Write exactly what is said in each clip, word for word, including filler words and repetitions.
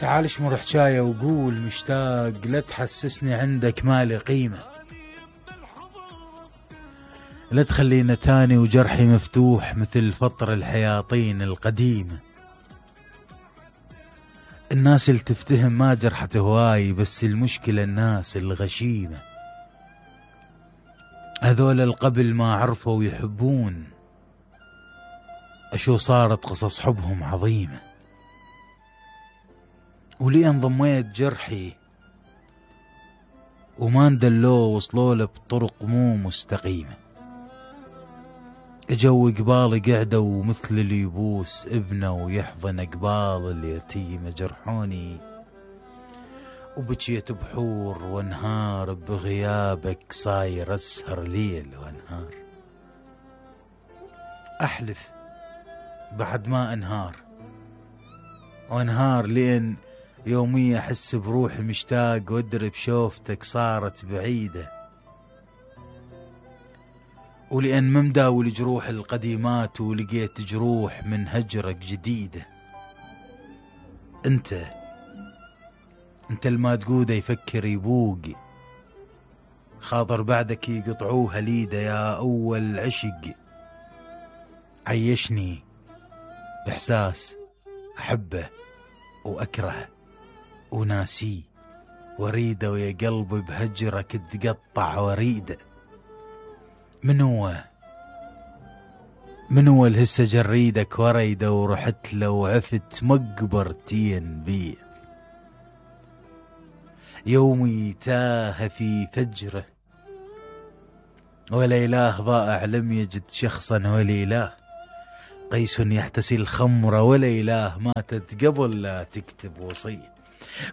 تعال اشمر حجاية وقول مشتاق، لا تحسسني عندك مالي قيمة، لا تخلينا تاني وجرحي مفتوح مثل فطر الحياطين القديمة. الناس اللي تفتهم ما جرحت هواي، بس المشكلة الناس الغشيمة، هذول القبل ما عرفوا يحبون، أشو صارت قصص حبهم عظيمة. ولي انضميت جرحي وما ندلوه وصلوا له بطرق مو مستقيمة. جو قبالي قعدوا مثل اللي يبوس ابنه ويحضن قبال اليتيمة، جرحوني وبكيت بحور وانهار، بغيابك صاير اسهر ليل وانهار. احلف بعد ما انهار وانهار، لين يومية احس بروحي مشتاق وادري بشوفتك صارت بعيدة، ولأن ما مداول جروح القديمات ولقيت جروح من هجرك جديدة. انت انت الما تقوده يفكر يبوق، خاطر بعدك يقطعوها ليده يا اول عشق. عيشني باحساس احبه واكرهه وناسيه واريده، ويا قلبي بهجرك تقطع وريده. من هو من هو الهسه جريدك وريده ورحت له وعفت مقبرتين بيه، يومي تاه في فجره ولا إله ضائع لم يجد شخصا، ولا إله قيس يحتسي الخمر، ولا إله ماتت قبل لا تكتب وصية.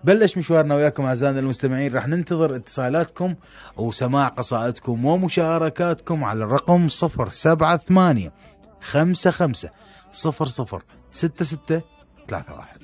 بلش مشوارنا وياكم أعزائنا المستمعين، راح ننتظر اتصالاتكم وسماع قصائدكم ومشاركاتكم على الرقم صفر سبعة ثمانية خمسة خمسة صفر صفر ستة ستة ثلاثة واحد.